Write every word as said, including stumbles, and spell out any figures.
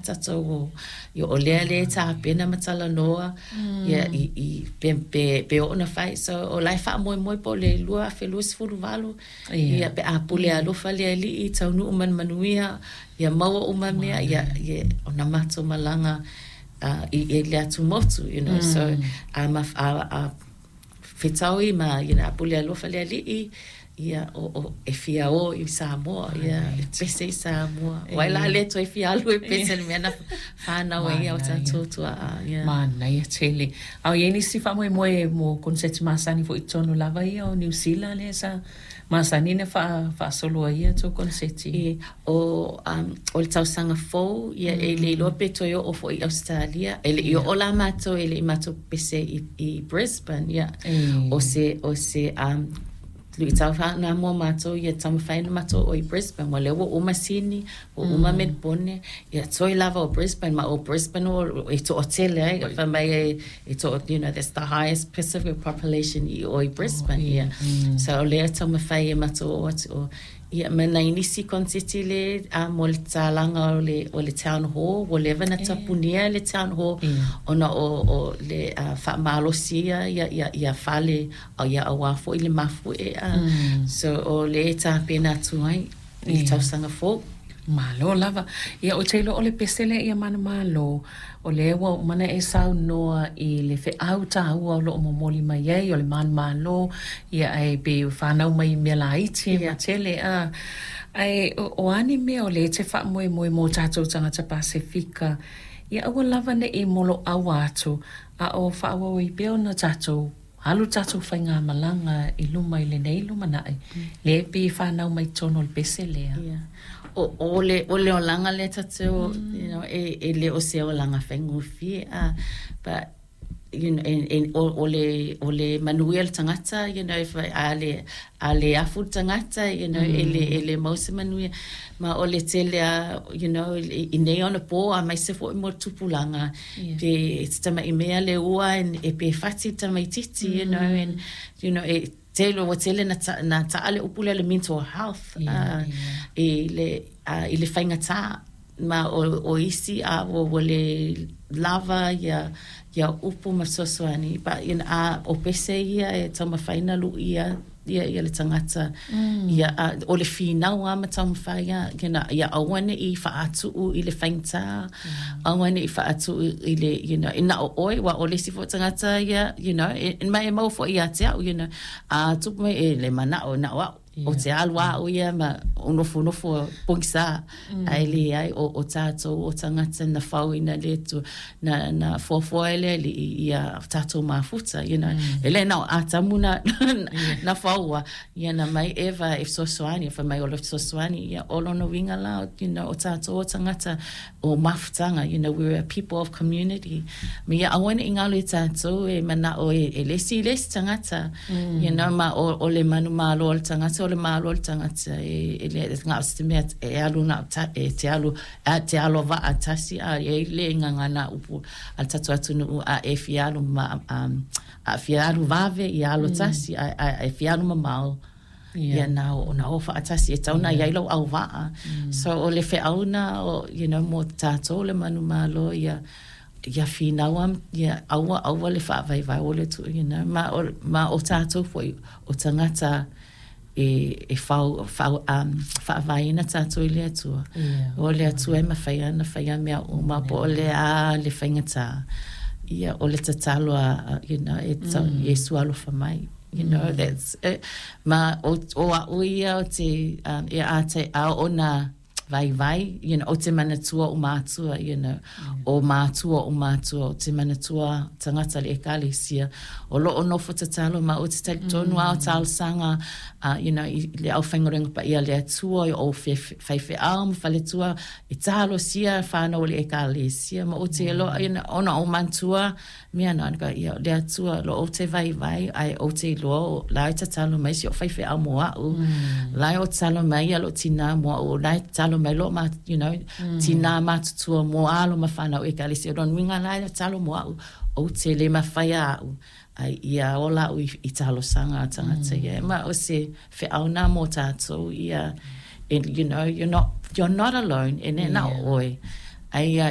tatou o. Ia, o lea lea e tapena ma talanoa ia i, i pe, pe, pe oo ona fai. So o la e faamoemoe po o le lua afe luasefuluvalu, ia pe a pule alofa le Alii, taunuu ma le manuia, ia maua uma mea, ia, ia ona matou malaga uh, i, i le atumotu, you know. So a, ma, a, a fetaui ma, you know, a pule alofa le Alii, ia o, o, e fia o i Samoa, ia e pese i Samoa. Wai la le toe fia alu e pese le mea na whānau ai o tātou tua'a. Ia. Manaia tele. A o iai nisi faamoemoe mo koneseti masani foi i totonu lava ia o Niu Sila lea sa masani ona faa faasolo ai ia tou koneseti? E, o, um, o le tausaga fou, ia e le iloa pe toe oo foi i Australia. E le i oo la matou, e le i matou pese i, i Brisbane, ia. E. O se, o se um, luitau na mo matou ia taumafai ona matou oo i Brisbane. Ua lea ua uma Sydney, ua uma Melbourne, ia toe lava o Brisbane, ma o Brisbane o e to'atele ai. Fai mai e, e to, you know, that's the highest Pacific population i o i Brisbane, ia. So o lea taumafai e matou oo atu o. Ia, ma nai nisi koneseti le a mo le tatalaga o le, o le town hall, ua leva na tapunia le town hall, ona o, o le uh, faamalosi ia, ia, ia, ia fale, o ia auā foi le mafu'e a. So o le tapena atu ai i le tausaga fou. Malo lava. Ia o te iloa o le pese lea ia manumalo, o lea ua uma ona e saunoa i le feau tāua o loo momoli mai ai o le manumalo, ia ae pe whanau mai i mea laiti e matele a. Ae o, o a ni mea o lea e te faamoemoe mo tatou tagata Pasefika, ia aua lava ne'i molo'aua atu, a o faaauau ai pea ona tatou alu tatou faigamalaga i luma i lenei lumanai, lea e pei e whanau mai totonu o le pese lea? Yeah. O, o le, o le olaga lea tatou, you know, e, e le o se olaga faigofie a, but you know, e, e, o, o le, o le manuia le tagata, you know, if a le, a le afu le tagata, you know, e le, e le mau se manuia. Ma o le tele a, you know, i, i nei ona pō, aemaise foi mo le tupulaga, Yeah. pe te tama'i mea le ua en- e pe fati le tamaititi, you know, and, you know, e tele, ua tele na, ta, na ta'a le upu lea le mental health, Yeah, uh, i le, uh, i le faigata ma o, o isi a ua, ua le lava ia ia upu ma fesoasoani, but you know, a o pese ia e taumafai na lu'ia ia, ia le tagata mm. ia a, o le finau a ma taumafai ia, you know, ia aua ne'i faatu'u i le faigata mm. aua ne'i faatu'u i le, you know, e na o oe ua o le isi foi tagata ia, you know, e, e mai e mau foi ia te a'u, you know, a tupu mai e le mana'o na o a'u o te alu a'u ia ma o nofonofo pogisa mm. ae leai o, o tatou o tagata na fauina le Atua na, na fuafua e le Alii ia tatou mafuta, you know. mm. E le na o Atamu na, na faua ia na mai Eva e fesoasoani fai mai o le fesoasoani ia o lona uiga la, you know, o tatou o tagata o mafutaga, you know, we're a people of community ma ia aua ne'i galo i tatou e mana'o e, e lesi i lesi tagata mm. you know, ma o, o le manumalo o le tagata o le malo o le tagata e, e le gao se mea e alu na ta, e te alu a te alo va'a tasi a e le gagana upu a le tatou atunuu a e fia alu ma um, a fia alu vave ia alo tasi a, a, e fia alu mamao Yeah. ia na o na o faatasi e tau na iai lau auva'a mm. So o le feauna o, you know, mo tatou le manumalo ia ia finau am ia aua aua le faavaivai o le tu, you know, ma o, ma o tatou foi o tagata e, e fau, fau, um, faavaeina tatou i le Atua. Yeah. O le Atua e mafai ana faia mea uma po o le a le faigata. Ia, o le tatalo a, a, you know, e ta, mm. Iesu alofa mai. You know, that's it. Ma o, o a'u ia o te, um, e a te a ona vaivai, you know, o te manatua o mātua, you know, o mātua o mātua, o te manatua tagata le ekalesia, o loo nofo tatalo ma o te talitonu mm. a o talosaga, uh, you know, i le aufaigaluega paia a le Atua, o faifeau ma faletua, e talosia whanau o le ekalesia, ma o te mm. you know, ona o mantua, mea na, ka, ia, le Atua, lo o te vaivai, ai o te iloa, o la e tatalo mai si o faifeau mo a'u, mm. la e o tatalo mai ia lo tina mo a'u, la e tatalo mai lo ma, you know, mm. tina matutua mo alo ma whanau ekalesia, lona uiga la e tatalo mo a'u, o te le mawhai a'u, ai ia ola a'u i, i talosaga a tagata mm. ia. Ma o se feauna mo tātou ia, and, you know, you're not, you're not alone, e ne na Yeah. oe. Ai ia